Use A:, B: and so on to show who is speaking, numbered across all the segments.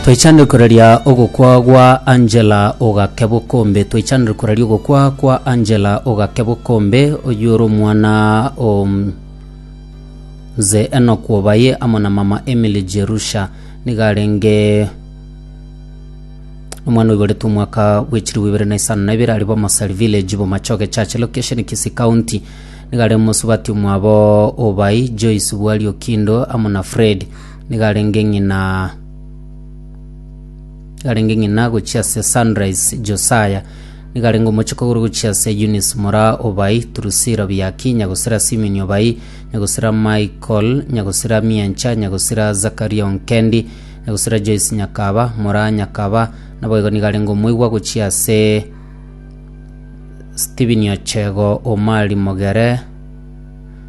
A: Twaichanire koraria ogokwa gwa Angela Ogake Bokombe. Twaichanire koraria ogokwa kwa Angela Ogake Bokombe, oyio ore omwana o Mzee Enock Obaye amo na mama Emily Jerusha. Nigo arenge omwana oiboretwe omwaka bwe chilifu ibere na isano na ibere aria Bomosari Village, Bomachoge Church Location, Kisii County. Nigo are mosubati omwabo Obai, Joyce Bwari Okindo amo na Fred. Nigo arenge ng'ina nigo arenge ng'ina gochia ase Sunrise Josiah. Nigo arenge omochokogoro gochia ase Eunice Moraa Obai, Drusilla Biaki, Nyagosira Simeon Obai, Nyagosira Michael, Nyagosira Miencha, Nyagosira Zakaria Onkendi, Nyagosira Joyce Nyakaba, Moraa Nyakaba, naboigo nigo arenge omoigwa gochia ase Stephen Ochego Omari Mogere,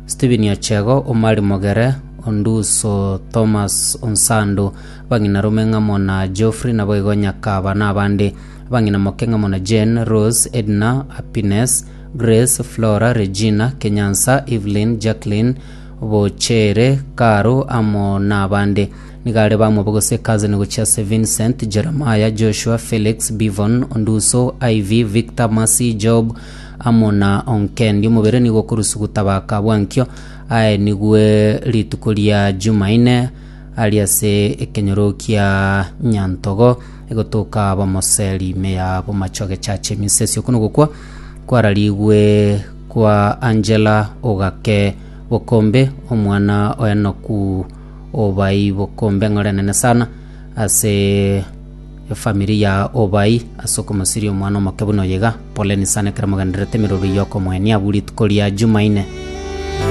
A: Stephen Ochego Omari Mogere, Onduso Thomas Onsando, abang'ina rome ng'amo na Geoffrey naboigo Nyakaba na abande, abang'ina moke ng'amo na Jane, Rose, Edna, Happiness, Grace, Flora, Regina, Kenyansa, Evelyn, Jacqueline, Bochere, Caro amo na abande. Nigo are bamwabo gose cousin gochia ase Vincent, Jeremiah, Joshua, Felix, Bivon, Onduso, Ivy, Victor, Mercy, Job amo na Onkendi. Omobere nigo okorusu gotabaka bwankio aye nigwe rituko ria Jumaine aria ase ekenyoro kia Nyantogo egotoka Bomoseri ime ya Bomachoge Church Emisesi. Oko nogokwa kwararigwe kwa Angela Ogake Bokombe omwana o Enoku Obai bokombe eng'ora enene sana ase efamiri ya Obai ase okomosiria omwana omoke buna oyo iga. Poleni sana ekero mogendererete emeroro y'okomoenia abwo rituko ria Jumaine.